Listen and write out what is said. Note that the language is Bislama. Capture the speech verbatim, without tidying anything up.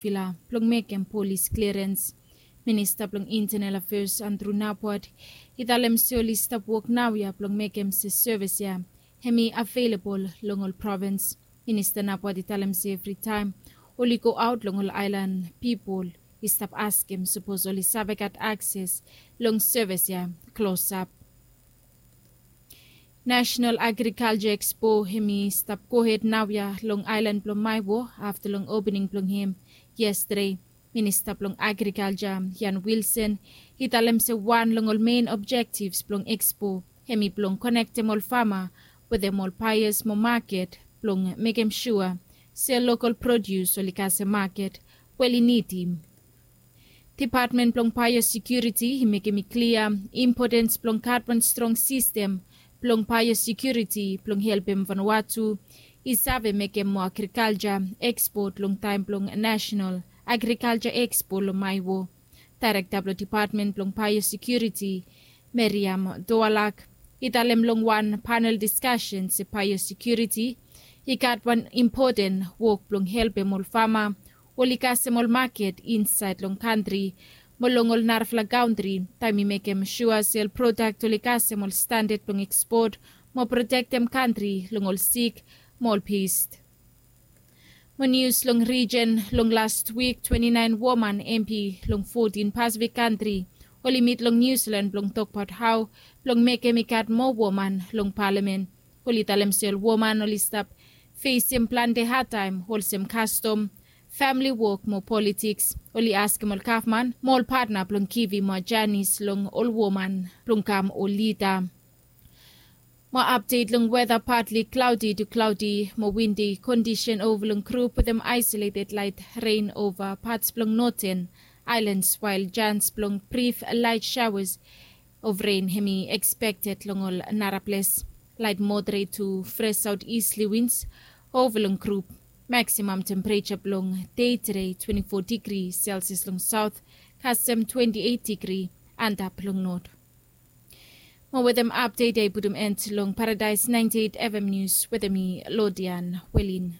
Vila blong mekem polis klirens. Minista blong Intenel Afeas Andrew Napwat i talem se oli stap wok naoia blong mekem se sevis ya hem i avelabol long ol provins. Minista Napwat i talem se evritaem oli go aot long ol aelan pipol i stap askem sapos oli save gat akses long sevis ya klosap. National Agriculture Expo hem i stap gohed naoia long aelan blong Maewo afta long opening blong hem yestade. Minista blong Agrikalja Jan Wilson i talem se wan long ol men objektivs blong Expo hem i blong konektem ol fama wetem ol baeas mo maket blong mekem sua se lokol produs oli kasem maket we oli nidim. Depatmen blong baeosekiuriti i mekem i klia impotens blong gat wan strong sistem blong baeosekiuriti blong helpem Vanuatu i save mekem moa agrikalja ekspot long taem blong Nasenal Agrikalja Ekspo long Maewo. Daerekta blong Depatmen blong Baeosekiuriti Meriam Doalak i talem long wan panel diskasen se baeosekiuriti i gat wan impoten wok blong helpem ol fama oli kasem ol maket insaed long kantri mo long ol narafala kantri taem i mekem sua se ol prodak oli kasem ol standad blong ekspot mo protektem kantri long ol sik mo ol pest. Mo nius long rijen long las wik twenti naen woman empi long fotin Pasifik kantri oli mit long Niu Silan blong tokbaot hao blong mekem i gat moa woman long palamen. Oli talem se ol woman oli stap fesem plante hadtaem olsem kastom, famili wok mo politiks. Oli askem ol gavman mo ol patna blong givim moa janis long ol woman blong kam ol lida. Mo apdet long weta, patli klaodi tu klaodi mo windi kondisen ova long grup wetem aesoleted laet ren ova pats blong noten aelans wael jans blong brif laet saoas of ren hem i ekspekted long ol naraples. Laet moderet tu fres saotisli wins ova long grup. Maksimam tempereja blong dei tede twenti fo digri selsias long saot kasem twenti eit digri antap long not. Mo wetem apdet ya i putum en long Paradaes naenti eit FM nius wetem mi Lodian Welin.